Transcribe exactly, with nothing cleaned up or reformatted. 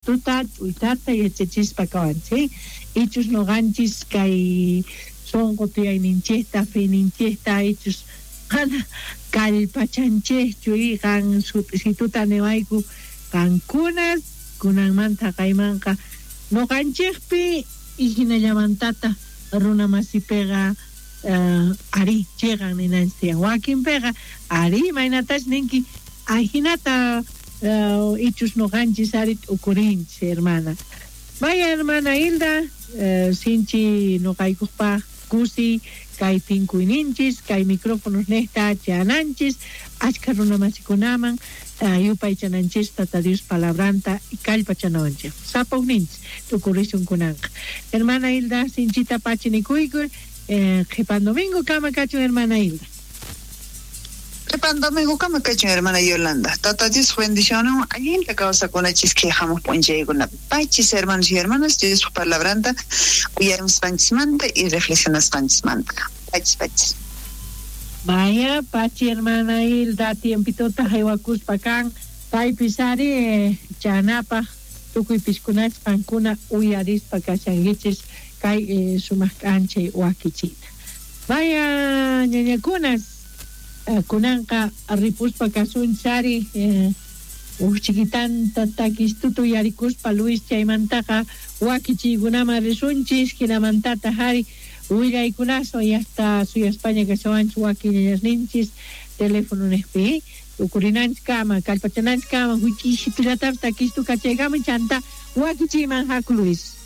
Sut'isituta ch'uytata yachachispa kawanchis, ichus noqanchis kay sonqo tiyayninchikta, feninchikta, ichus qana kallpachanchikchu y qan sut'isituta niwayku qankunas kunanmanta kaymanqa noqanchikpi y hinallamantata runa masipiqa uh, ari chiqan ninanchis tiyan wakinpiqa ari imaynatash ninki ajinata uh, ichus noqanchis ari t'ukurinchis hermana. Vaya hermana Hilda, uh, sinchi noqaykupaq kusi kay tinkuyninchis kay micrófonos nejta chananchis achka runa masikunaman uh, yupaychananchis Tata Dios palabranta y kallpachanawanchis sapawninchis tukurisun kunanqa. Hermana Hilda, sinchita pachinikuyku, eh, qhipan domingo kama kachun hermana Hilda. Qhipan domingo kama kachun hermana Yolanda. Tata Dios bendicionun allinta kawsakunachis kay hamuq p'unchaykunapi. Pachis hermanos y hermanas Dios palabranta uyarisqanchismanta y reflexionasqanchismanta. Pachis, pachis. Vaya, pachi hermana Hilda, tiempitota haywakuspa kan, paypis ari eh, chanapaj tukuy piskunachis qankuna uyarispa kashankichis kay eh, sumaq k'anchay wakichita. Vaya, ñañakunas, eh, kunanqa ripuspa kasunchari eh, uj chiquitanta takistuta uyarikuspa Luis chaymantaqa wakichiykunaman risunchis hinamantata hari willaykunaso y hasta suyaspaña kashawanchis wakiñañasninchis teléfono nejpi tukurinanchis kama kallpachananchis kama huch'ishitullatapas takistu kachaykama chanta wakichiyman haku Luis.